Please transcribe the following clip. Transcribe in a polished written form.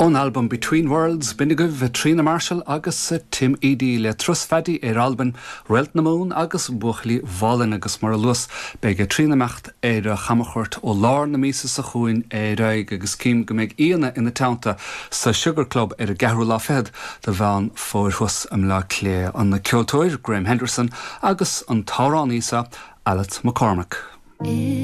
Ón albam Between Worlds, b'in agaibh Tríona Marshall agus Tim Edey le Turas Phaddy ar Albain, Réalt na Mumhan agus Buachaillí Mhálainn agus mar a luas, beidh Tríona ag imeacht ar chamchuairt ó lár na míosa seo chugainn ar aghaidh agus cím go mbeidh aíonna ina teannta sa Sugar Club ar an gceathrú lá fichead de Mheán Fómhair thuas i mBleá Cliath, an ceoltóir Graham Henderson agus an t-amhránaí seo Alice McCormack.